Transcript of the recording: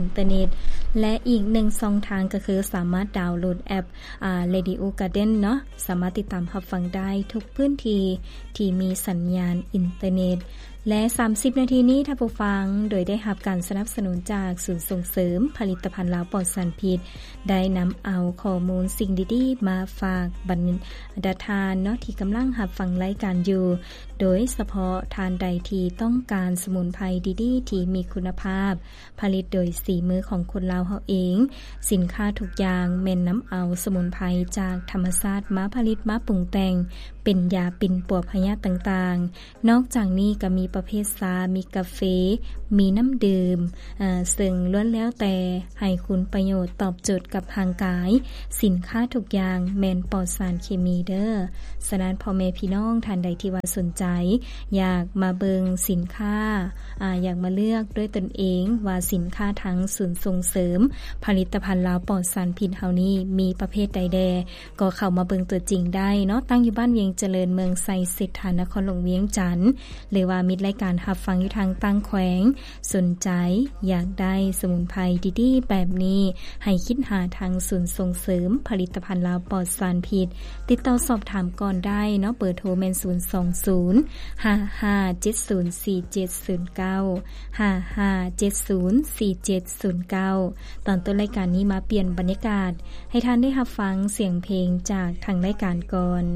ນເຕີເນັດ ແລະ ອີກໜຶ່ງຊ່ອງທາງກໍຄືສາມາດດາວໂຫຼດແອັບ ອາ Radio Garden ເນາະ ສາມາດຕິດຕາມຮັບຟັງໄດ້ທຸກພື້ນທີ່ທີ່ມີສັນຍານອິນເຕີເນັດ. ແລະ ສາມສິບນາທີນີ້ ທ່ານຜູ້ຟັງ ໂດຍໄດ້ຮັບການສະໜັບສະໜູນຈາກສູນສົ່ງເສີມຜະລິດຕະພັນລາວປອດສານພິດ ໄດ້ນຳເອົາຂໍ້ມູນສິ່ງດີໆມາຝາກບັນດາທ່ານເນາະ ທີ່ກຳລັງຮັບຟັງລາຍການຢູ່, ໂດຍສະເພາະທ່ານໃດທີ່ຕ້ອງການສະໝຸນໄພດີໆທີ່ມີຄຸນນະພາບ ຜະລິດໂດຍສີມືຂອງຄົນລາວເຮົາເອງ. ສິນຄ້າທຸກຢ່າງແມ່ນນຳເອົາສະໝຸນໄພຈາກທຳມະຊາດມາຜະລິດມາປຸງແຕ່ງເປັນຢາປິ່ນປົວພະຍາດຕ່າງໆ. ນອກຈາກນີ້ກໍມີປະເພດຊາ, ມີກາເຟ, ມີນ້ຳດື່ມ, ເຊິ່ງລ້ວນແລ້ວແຕ່ໃຫ້ຄຸນປະໂຫຍດຕອບໂຈດກັບຮ່າງກາຍ. ສິນຄ້າທຸກຢ່າງແມ່ນປອດສານເຄມີເດີ້. ສະນັ້ນ ພໍ່ແມ່ພີ່ນ້ອງທ່ານໃດທີ່ວ່າສົນໃຈ ຢາກມາເບິ່ງສິນຄ້າ ອາ ຢາກມາເລືອກດ້ວຍຕົນເອງວ່າສິນຄ້າທາງສູນສົ່ງເສີມຜະລິດຕະພັນລາວປອດສານພິດເຮົານີ້ມີປະເພດໃດແດ່ ກໍເຂົ້າມາເບິ່ງຕົວຈິງໄດ້ເນາະ, ຕັ້ງຢູ່ບ້ານວຽງຈະເລີນ ເມືອງໄຊເສດຖາ ນະຄອນຫຼວງວຽງຈັນ ຫຼືວ່າມິດລາຍການຮັບຟັງຢູ່ທາງຕ່າງແຂວງ ສົນໃຈຢາກໄດ້ສະໝຸນໄພດີໆແບບນີ້ ໃຫ້ຄິດຫາທາງສູນສົ່ງເສີມຜະລິດຕະພັນລາວປອດສານພິດ ຕິດຕໍ່ສອບຖາມກ່ອນໄດ້ເນາະ. ເບີໂທແມ່ນ ສູນສອງສູນ ຫ້າຫ້າເຈັດສູນ ສີ່ເຈັດສູນເກົ້າ ຫ້າຫ້າເຈັດສູນ ສີ່ເຈັດສູນເກົ້າ. ຕອນຕົ້ນລາຍການນີ້ມາປ່ຽນບັນຍາກາດ ໃຫ້ທ່ານໄດ້ຮັບຟັງສຽງເພງຈາກທາງລາຍການກ່ອນ.